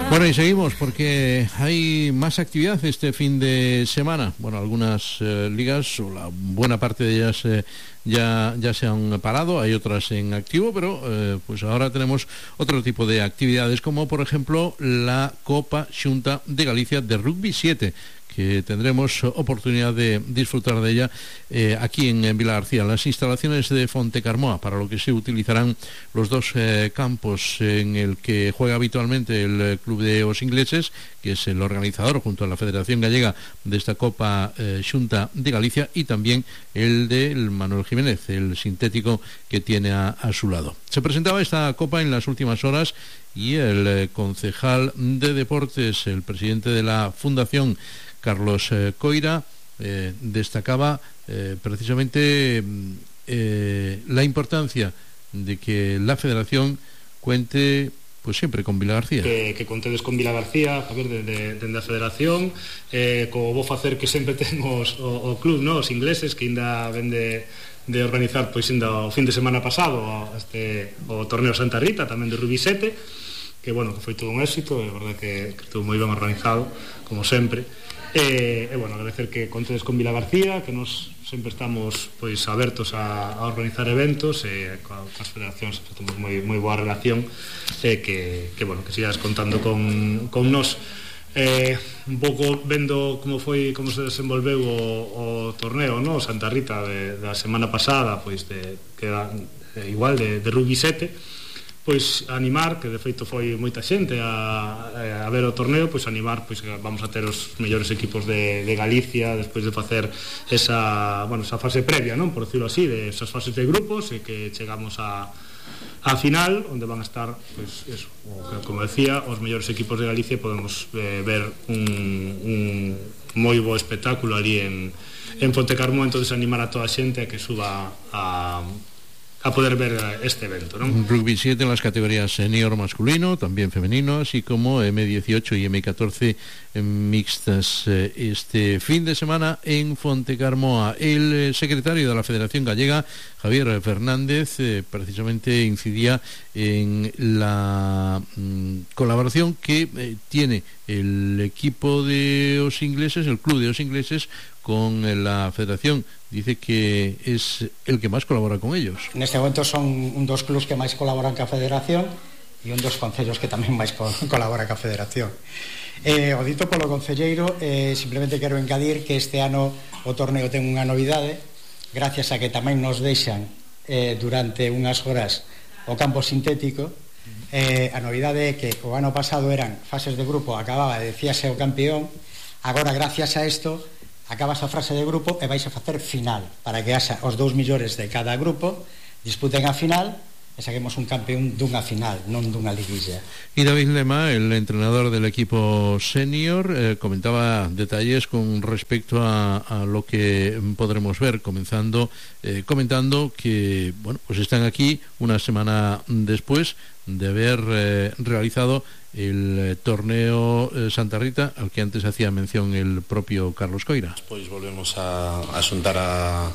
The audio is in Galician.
Bueno, y seguimos porque hay más actividad este fin de semana. Bueno, algunas ligas, o la buena parte de ellas ya se han parado, hay otras en activo, pero pues ahora tenemos otro tipo de actividades, como por ejemplo la Copa Xunta de Galicia de Rugby 7, que tendremos oportunidad de disfrutar de ella aquí en Vilagarcía, las instalaciones de Fontecarmoa, para lo que se utilizarán los dos campos en el que juega habitualmente el Club de Os Ingleses, que es el organizador junto a la Federación Gallega de esta Copa Xunta de Galicia, y también el del Manuel Jiménez, el sintético que tiene a su lado. Se presentaba esta Copa en las últimas horas y el concejal de Deportes, el presidente de la Fundación, Carlos Coira, destacaba precisamente la importancia de que la Federación cuente pues siempre con Vilagarcía. Que contedes con Vilagarcía, a ver, dende a Federación, como vou facer que sempre temos o club, no? Os ingleses, que ainda ven de organizar pois ainda o fin de semana pasado o torneo Santa Rita, tamén de Rugby 7, que bueno, que foi todo un éxito, é verdade que estuvo moi ben organizado, como sempre. Bueno, agradecer que contedes con Vilagarcía, que nos sempre estamos pois abertos a organizar eventos, coas federacións temos moi boa relación, que bueno, que sigas contando con nós. Un pouco vendo como se desenvolveu o torneo, no? Santa Rita da semana pasada, pois igual de Rugby 7, pois animar, que de feito foi moita xente a ver o torneo, pois animar, pois que vamos a ter os mellores equipos de Galicia despois de facer esa fase previa, non, por decirlo así, de esas fases de grupos, e que chegamos a final, onde van a estar, pois eso, como decía, os mellores equipos de Galicia, e podemos ver un moi bo espectáculo ali en Fontecarmoa. Entonces animar a toda a xente a que suba a poder ver este evento, ¿no? Rugby 7 en las categorías senior masculino, también femenino, así como M18 y M14 mixtas este fin de semana en Fontecarmoa. El secretario de la Federación Gallega, Javier Fernández, precisamente incidía en la colaboración que tiene el equipo de Os Ingleses, el club de Os Ingleses, con la Federación. Dice que es el que máis colabora con ellos. Neste momento son un dos clubs que máis colaboran ca Federación e un dos concellos que tamén máis colabora ca Federación. O dito polo concelleiro, simplemente quero engadir que este ano o torneo ten unha novidade, gracias a que tamén nos deixan durante unhas horas o campo sintético. A novidade é que o ano pasado eran fases de grupo, acababa e decíase o campeón. Agora, gracias a isto, acabas a fase de grupo e vais a facer final, para que haxa os dous millores de cada grupo, disputen a final e saquemos un campeón dunha final, non dunha liguilla. Y David Lema, el entrenador del equipo senior, comentaba detalles con respecto a lo que podremos ver, comentando que bueno, pues están aquí una semana después de haber realizado el torneo Santa Rita, al que antes hacía mención el propio Carlos Coira. Pois volvemos a xuntar a